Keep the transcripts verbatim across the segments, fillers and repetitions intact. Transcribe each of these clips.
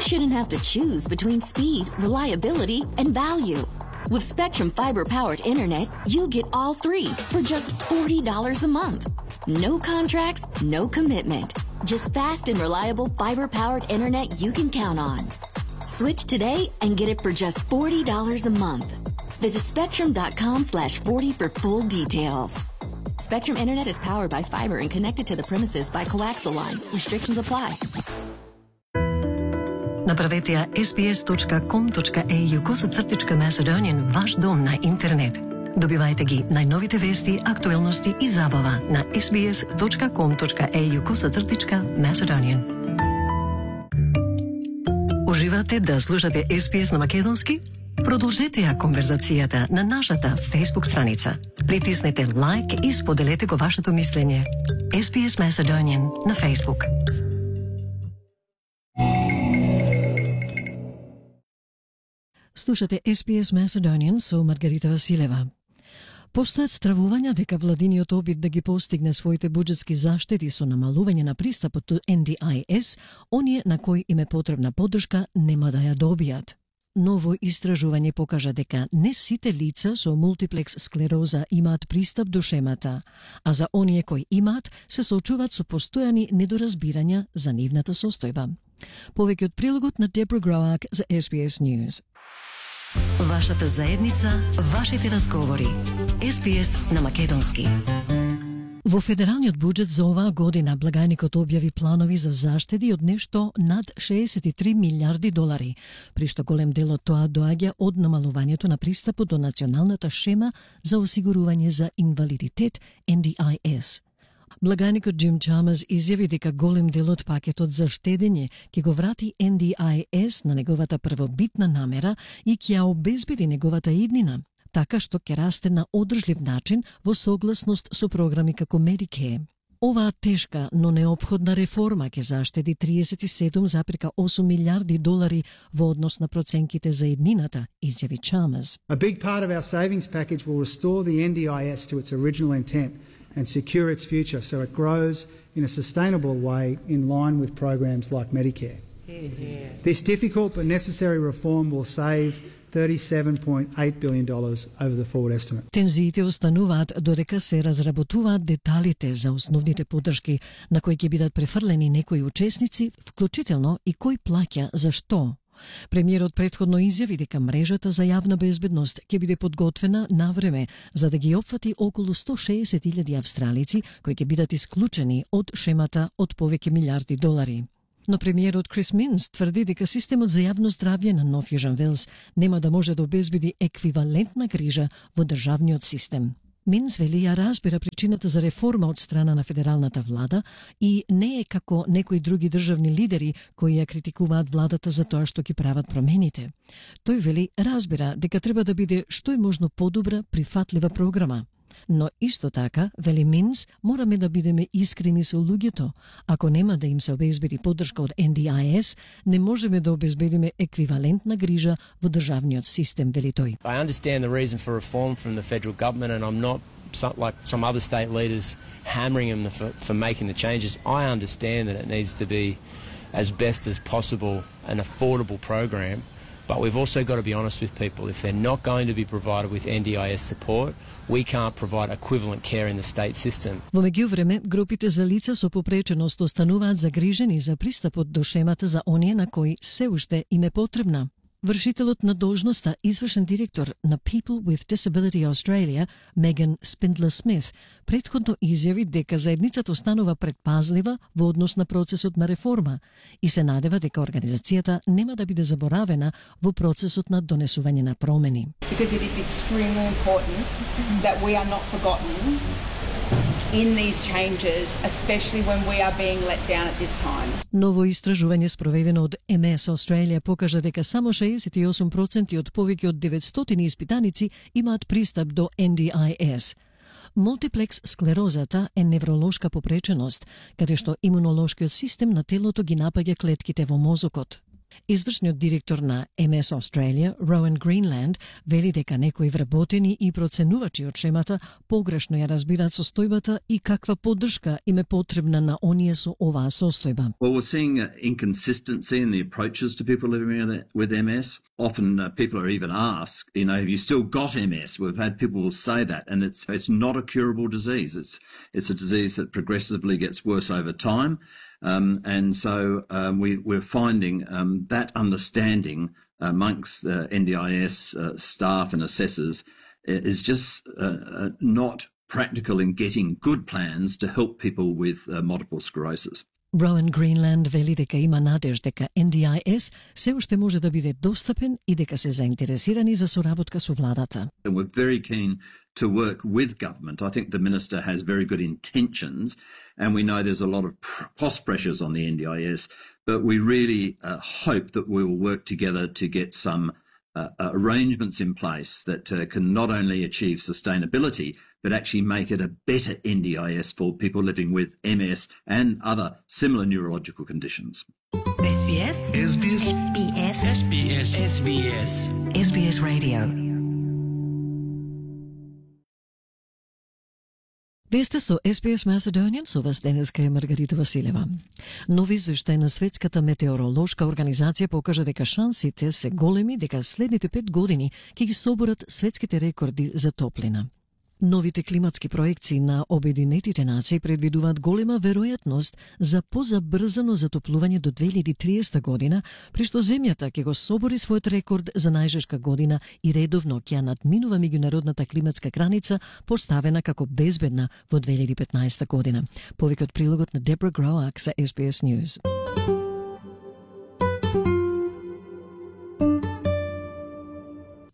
shouldn't have to choose between speed, reliability, and value. With Spectrum fiber-powered internet, you get all three for just forty dollars a month. No contracts, no commitment. Just fast and reliable fiber-powered internet you can count on. Switch today and get it for just forty dollars a month. Visit spectrum.com slash 40 for full details. Spectrum Internet is powered by fiber and connected to the premises by coaxial lines. Restrictions apply. Направете ја ес би ес точка ком точка ей ю косацртичка Macedonian ваш дом на интернет. Добивајте ги најновите вести, актуелности и забава на ес би ес точка ком точка ей ю косацртичка Macedonian. Уживате да слушате ес би ес на македонски? Продолжете ја конверзацијата на нашата Facebook страница. Притиснете лайк и споделете го вашето мислење. ес би ес Macedonian на Facebook. Слушате ес би ес Macedonian со Маргарита Василева. Постојат стравувања дека владиниот обид да ги постигне своите буџетски заштеди со намалување на пристапот до ен ди ај ес, оние на кои им е потребна поддршка нема да ја добијат. Ново истражување покажа дека не сите лица со мултиплекс склероза имаат пристап до шемата, а за оние кои имаат се соочуваат со постојани недоразбирања за нивната состојба. Повеќе од прилогот на Дебра Гроак за ес би ес News. Вашата заедница, вашите разговори. ес би ес на македонски. Во федералниот буџет за оваа година благајникот објави планови за заштеди од нешто над шеесет и три милиарди долари, при што голем дел од тоа доаѓа од намалувањето на пристапот до националната шема за осигурување за инвалидитет ен ди ај ес. Благајникот Джим Чамерс изјави дека голем дел од пакетот за штедење ќе го врати ен ди ај ес на неговата првобитна намера и ќе ја обезбеди неговата иднина, така што ќе расте на одржлив начин во согласност со програми како Medicare. Оваа тешка, но неопходна реформа ќе заштеди триесет и седум зарез осум милиарди долари во однос на проценките за иднината, изјави Чамерс. A big part of our savings package will restore the ен ди ај ес to its original intent and secure its future so it grows in a sustainable way in line with programs like Medicare. Yeah, yeah. This difficult but necessary reform will save thirty-seven point eight billion dollars over the forward estimate. Тензиите остануваат додека се разработуваат деталите за основните поддршки на кои ќе бидат префрлени некои учесници, вклучително и кој плаќа за што. Премиерот претходно изјави дека мрежата за јавна безбедност ќе биде подготвена на време за да ги опфати околу сто шеесет илјади австралици кои ќе бидат исклучени од шемата од повеќе милиарди долари. Но премиерот Крис Минс тврди дека системот за јавно здравје на Нов Јужен Велс нема да може да обезбеди еквивалентна грижа во државниот систем. Минс вели ја разбира причината за реформа од страна на федералната влада и не е како некои други државни лидери кои ја критикуваат владата за тоа што ги прават промените. Тој вели разбира дека треба да биде што е можно подобра, прифатлива програма. Но исто така, вели Минс, мораме да бидеме искрени со луѓето. Ако нема да им се обезбеди поддршка од ен ди ај ес, не можеме да обезбедиме еквивалентна грижа во државниот систем, вели тој. I understand the reason for reform from the federal government and I'm not some, like some other state leaders hammering them for, for making the changes. I understand that it needs to be as best as possible an affordable program. But we've also got to be honest with people. If they're not going to be provided with ен ди ај ес support, we can't provide equivalent care in the state system. Во меѓувреме, групите за лица со попреченост остануваат загрижени за пристапот до шемата за оние на кои се уште им е потребна. Вршителот на должноста, извршен директор на People with Disability Australia, Меган Спиндлер Смит, претходно изјави дека заедницата останува предпазлива во однос на процесот на реформа и се надева дека организацијата нема да биде заборавена во процесот на донесување на промени. Because it is extremely important that we are not forgotten in these changes, especially when we are being let down at this time. Ново истражување спроведено од Ем Ес Australia покажа дека само шеесет и осум проценти од повеќе од деветстотини испитаници имаат пристап до ен ди ај ес. Мултиплекс склерозата е невролошка попреченост, каде што имунолошкиот систем на телото ги напаѓа клетките во мозокот. Извршниот директор на Ем Ес Australia, Rowan Greenland, вели дека некои вработени и проценувачи од шемата погрешно ја разбираат состојбата и каква поддршка им е потребна на оние со оваа состојба. Well, we're seeing uh, inconsistency in the approaches to people living with M S. Often uh, people are even asked, you know, have you still got M S? We've had people say that, and it's it's not a curable disease. It's it's a disease that progressively gets worse over time. Um, and so um, we, we're finding um, that understanding amongst the N D I S uh, staff and assessors is just uh, uh, not practical in getting good plans to help people with uh, multiple sclerosis. Rowan Greenland вели дека има надеж дека Ен Ди Ај Ес се уште може да биде достапен и дека се заинтересирани за соработка со владата. And we're very keen to work with government. I think the minister has very good intentions, and we know there's a lot of cost pressures on the N D I S, but we really uh, hope that we will work together to get some uh, arrangements in place that uh, can not only achieve sustainability, but actually make it a better N D I S for people living with M S and other similar neurological conditions. S B S S B S S B S S B S S B S S B S Radio. Вие сте со Ес Би Ес Macedonian, со вас денеска е Маргарита Василева. Нов извештај на Светската метеоролошка организација покажа дека шансите се големи дека следните пет години ќе ги соборат светските рекорди за топлина. Новите климатски проекции на Обединетите нации предвидуваат голема веројатност за позабрзано затоплување до две илјади и триесета година, при што земјата ќе го собори својот рекорд за најжешка година и редовно ќе надминува меѓународната климатска граница поставена како безбедна во две илјади и петнаесета година. Повеќе од прилогот на Дебра Гроак за Ес Би Ес News.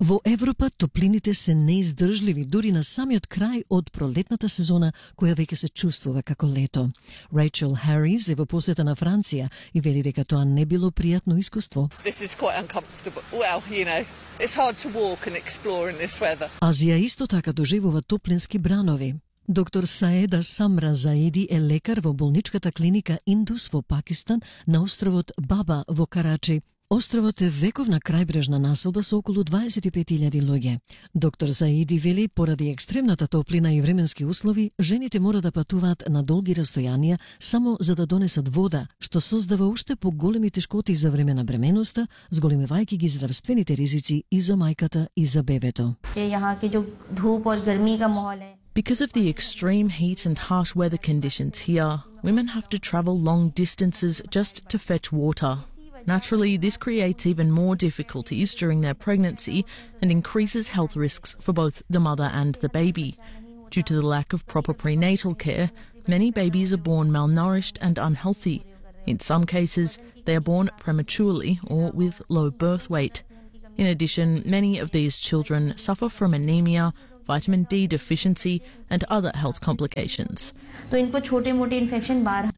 Во Европа топлините се неиздржливи дури на самиот крај од пролетната сезона, која веќе се чувствува како лето. Рейчел Харис е во посета на Франција и вели дека тоа не било пријатно искуство. This is quite uncomfortable. Well, you know, it's hard to walk and explore in this weather. Азија исто така доживува топлински бранови. Доктор Саеда Самра Заиди е лекар во болничката клиника Индус во Пакистан на островот Баба во Карачи. Островот е вековна крајбрежна населба со околу дваесет и пет илјади луѓе. Доктор Заиди вели, поради екстремната топлина и временски услови, жените мора да патуваат на долги растојанија само за да донесат вода, што создава уште поголеми тешкоти за време на бременоста, зголемувајќи ги здравствените ризици и за мајката и за бебето. Because of the extreme heat and harsh weather conditions here, women have to travel long distances just to fetch water. Naturally, this creates even more difficulties during their pregnancy and increases health risks for both the mother and the baby. Due to the lack of proper prenatal care, many babies are born malnourished and unhealthy. In some cases, they are born prematurely or with low birth weight. In addition, many of these children suffer from anemia, vitamin D deficiency and other health complications.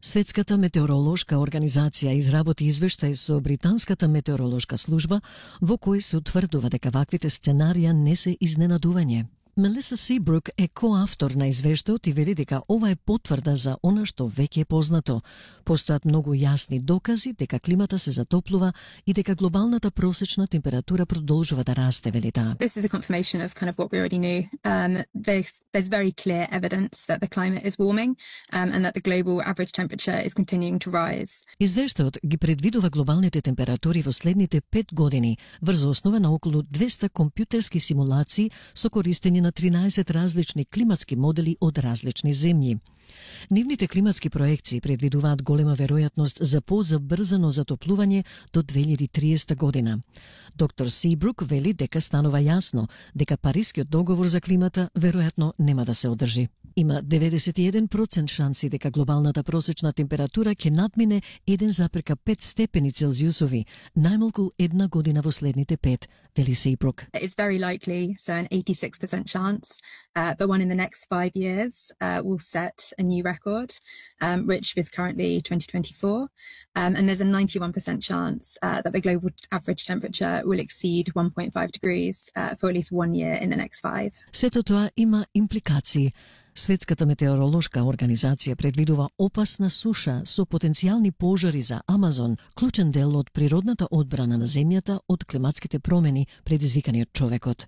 Светската метеоролошка организација изработи извештај со британската метеоролошка служба во кој се утврдува дека ваквите сценарија не се изненадување. Мелиса Сибрук е коавтор на извештајот и вели дека ова е потврда за она што веќе е познато. Постојат многу јасни докази дека климата се затоплува и дека глобалната просечна температура продолжува да расте, вели таа. This is a confirmation of kind of what we already knew. Um, there's, there's very clear evidence that the climate is warming um, and that the global average temperature is continuing to rise. Извештајот ги предвидува глобалните температури во следните пет години врз основа на околу двесте компјутерски симулации со користење на тринаесет различни климатски модели од различни земји. Нивните климатски проекции предвидуваат голема веројатност за позабрзано затоплување до две илјади и триесета година. Доктор Сибрук вели дека станува јасно дека Парискиот договор за климата веројатно нема да се одржи. Има деветдесет и еден процент шанси дека глобалната просечна температура ќе надмине еден запирка пет степени Целзиусови, најмалку една година во следните пет, вели Сибрук. It's very likely, so an eighty-six percent chance uh, that one in the next five years uh, will set a new record, um, which is currently twenty twenty-four. Um, and there's a ninety-one percent chance uh, that the global average temperature will exceed one point five degrees uh, for at least one year in the next five. Сето тоа има импликации. Светската метеоролошка организација предвидува опасна суша со потенцијални пожари за Амазон, клучен дел од природната одбрана на земјата од климатските промени предизвикани од човекот.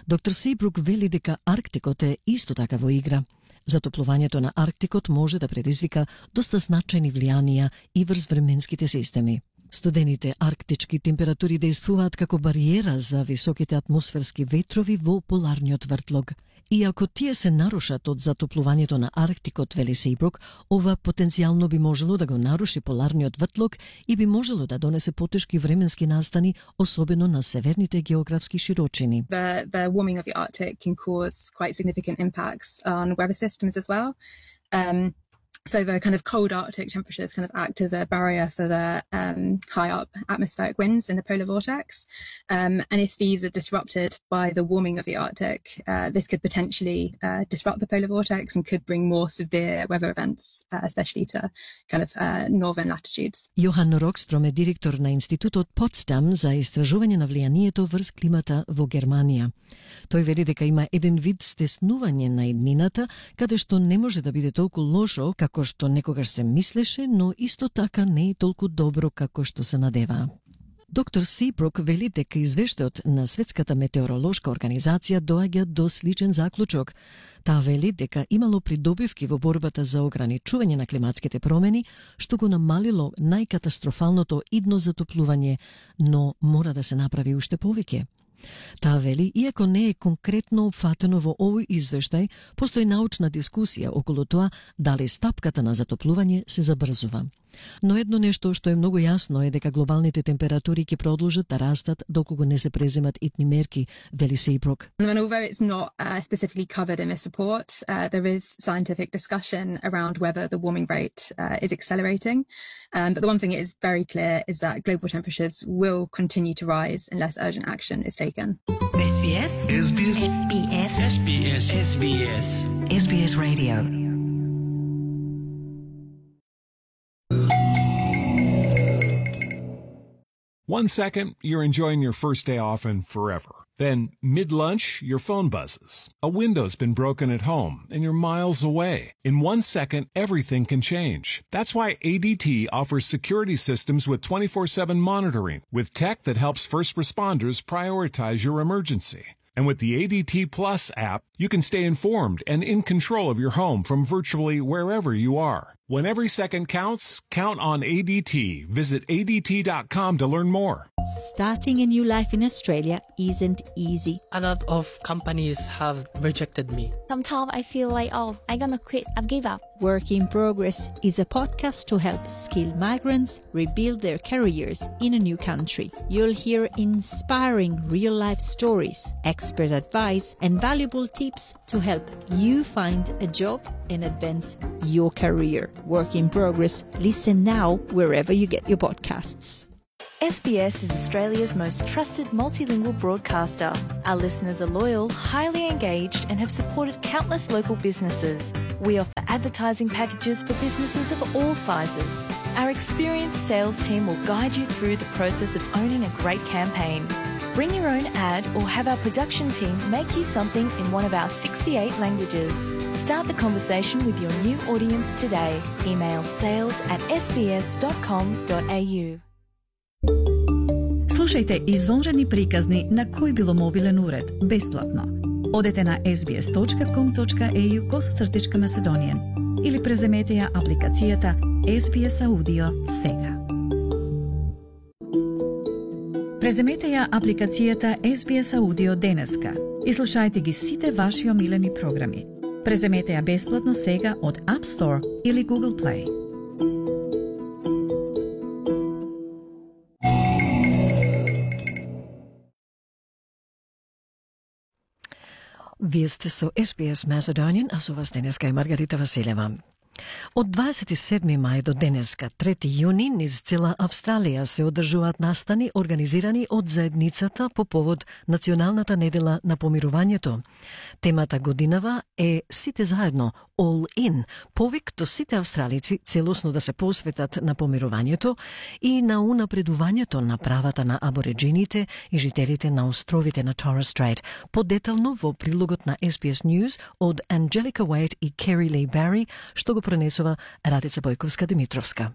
Доктор Сибрук вели дека Арктикот е исто така во игра. Затоплувањето на Арктикот може да предизвика доста значајни влијанија и врз временските системи. Студените арктички температури действуваат како бариера за високите атмосферски ветрови во поларниот вртлог. И ако тие се нарушат од затоплувањето на Арктикот, вели Сейбрук, ова потенцијално би можело да го наруши поларниот вртлог и би можело да донесе потешки временски настани, особено на северните географски широчини. The, the warming of the Arctic can cause quite significant impacts on weather systems as well. Um, So the kind of cold Arctic temperatures kind of act as a barrier for the um, high up atmospheric winds in the polar vortex. Um, and if these are disrupted by the warming of the Arctic, uh, this could potentially uh, disrupt the polar vortex and could bring more severe weather events, uh, especially to kind of uh, northern latitudes. Јохан Рокстром е директор на Институтот Потсдам за истражување на влијанието врз климата во Германија. Тој вели дека има еден вид стеснување на иднината, каде што не може да биде толку лошо како што некогаш се мислеше, но исто така не е толку добро како што се надева. Доктор Сибрук вели дека извештајот на Светската метеоролошка организација доаѓа до сличен заклучок. Таа вели дека имало придобивки во борбата за ограничување на климатските промени, што го намалило најкатастрофалното идно затоплување, но мора да се направи уште повеќе. Таа вели, иако не е конкретно опфатено во овој извештај, постои научна дискусија околу тоа дали стапката на затоплување се забрзува. Но едно нешто што е многу јасно е дека глобалните температури ќе продолжат да растат доколку не се преземат итни мерки, вели Сейбрук. And although it's not uh, specifically covered in this report, uh, there is scientific discussion around whether the warming rate uh, is accelerating. Um, but the one thing that is very clear is that global temperatures will continue to rise unless urgent action is taken. S B S S B S S B S S B S S B S S B S Radio. One second, you're enjoying your first day off and forever. Then, mid-lunch, your phone buzzes. A window's been broken at home, and you're miles away. In one second, everything can change. That's why A D T offers security systems with twenty-four seven monitoring, with tech that helps first responders prioritize your emergency. And with the A D T Plus app, you can stay informed and in control of your home from virtually wherever you are. When every second counts, count on A D T. Visit A D T dot com to learn more. Starting a new life in Australia isn't easy. A lot of companies have rejected me. Sometimes I feel like, oh, I'm gonna quit, I've give up. Work in Progress is a podcast to help skilled migrants rebuild their careers in a new country. You'll hear inspiring real-life stories, expert advice, and valuable tips to help you find a job and advance your career. Work in Progress. Listen now wherever you get your podcasts. S B S is Australia's most trusted multilingual broadcaster. Our listeners are loyal, highly engaged, and have supported countless local businesses. We offer advertising packages for businesses of all sizes. Our experienced sales team will guide you through the process of owning a great campaign. Bring your own ad or have our production team make you something in one of our sixty-eight languages. Start the conversation with your new audience today. Email sales at s b s dot com dot a u. Слушајте извонредни приказни на кој било мобилен уред, бесплатно. Одете на s b s dot com dot a u косацртичка Macedonian или преземете ја апликацијата S B S Audio сега. Преземете ја апликацијата S B S Audio денеска и слушајте ги сите ваши омилени програми. Преземете ја бесплатно сега од App Store или Google Play. Вие сте со S B S Macedonian, а со вас денеска е Маргарита Василева. Од дваесет и седми мај до денеска, трети јуни, низ цела Австралија се одржуваат настани организирани од заедницата по повод Националната недела на помирувањето. Темата годинава е Сите заедно, All In, повик до сите австралици целосно да се посветат на помирувањето и на унапредувањето на правата на абориджините и жителите на островите на Torres Strait. Подетално во прилогот на Ес Би Ес News од Анджелика Уейт и Кери Ли Бари, што го пренесува Радица Бојковска-Димитровска.